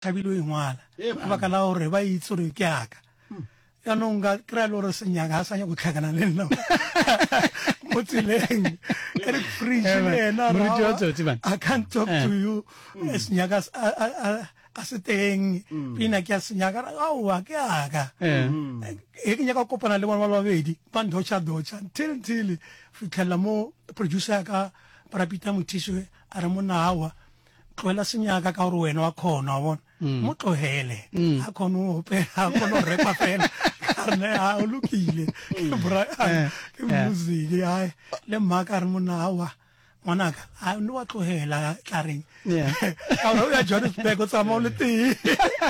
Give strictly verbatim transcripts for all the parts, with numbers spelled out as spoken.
Thabile o e ngwala ka baka la gore ba itse gore ke aka. Jaanong ka kry-a le gore senyaka ga sa nyaka go tlhakana le nna mo tseleng. Eric Fridge le yena Moruti wa tsotsi, man. I can't talk to you. Senyaka a- a- a- a se teng. Pina ke ya senyaka aowa ke aka. E ke nyaka go kopana le bona ba le babedi ba ndotšha-dotšha until until fitlhelela mo producer ya ka Brapita Mothiši a re monna aowa tlohela senyaka ka gore wena wa kgona wa bona mo tlogele a kgone go opela a kgone go repa fela ka re ne a o lokile ke Brian ke music ai le mmaka a re monna aowa ngwanaka a ne wa tlogela tla reng Yeah. ka gore o ya Johannesburg o tsamaya o le tee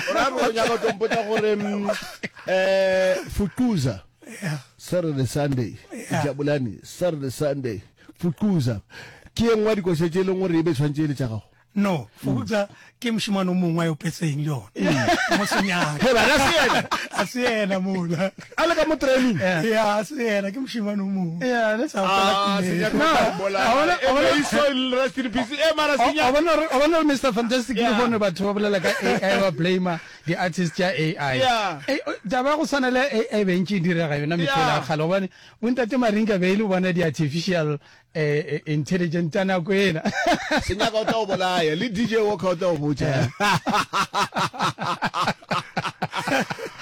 O ra re o nyaka go tlo mpotša gore mm, eh Fukuza Yeah. Saturday Sunday Yeah. Jabulani Saturday Sunday Fukuza ke ye nngwe ya dikoša tše e leng gore e be tshwanetse e le tša gago. No, Fukuza ke mošemane o mongwe a e opetseng le yona mo senyaka. He bana se yena. A se yena mola. A le ka mo training. Ya, a se yena ke mošemane o mongwe. Yeah, ne? Sa opela Ah, pina. senyaka No, o tla mbolaya. a bona- a Eh, bona- may his soul rest in peace. Eh, mara A senyaka. bona gore- a bona gore Mister Fantastic Yeah. le gone batho ba bolela ka A I ba blame di-artist tša A I. Yeah. Eh, o- taba ya go swana le A I be ntše e direga yona mehleng ya Yeah. kgale gobane bontate Marinka be e le bona di-artificial eh, eh, intelligent tša nako ena. Senyaka o tla o bolaya le D J Walker o tla o botša.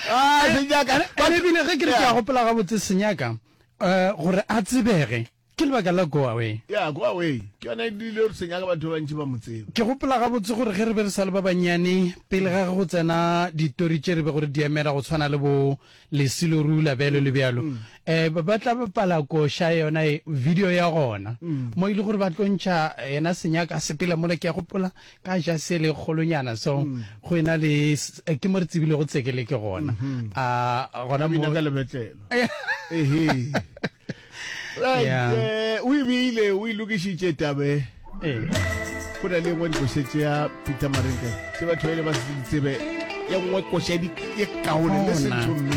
Ah, senyaka. Ene ebile ge ke re ke a gopola gabotse senyaka eh, gore a tsebege ke lebaka la Go Away. Yeah, Go Away. Ke yona e dirile gore senyaka batho ba bantši ba mo tsebe. Ke gopola gabotse gore ge re be re sa le ba bannyane pele ga go tsena ditori tše re be gore di emela go tshwana le bo Lesilo Rula bjalo le bjalo. Eh, ba ba tla bapala koša yona e, video ya gona. Mo e le gore ba tlo ntšha yena senyaka a sepela mola ke a gopola ka ja se le kgolonyana so go ena le s-, eh, ke mo re tsebile go tsekele ke gona. A gona Bina mo ka lebetlelo. Ehe. Right, Yeah. eh, o ebile o e lokišitše tabe. Eh. Go na le engwe dikoša tše ya Peter Marinka tše batho ba ile ba se di tsebe, ye nngwe koša di-, ye kaone, listen Ona. to me.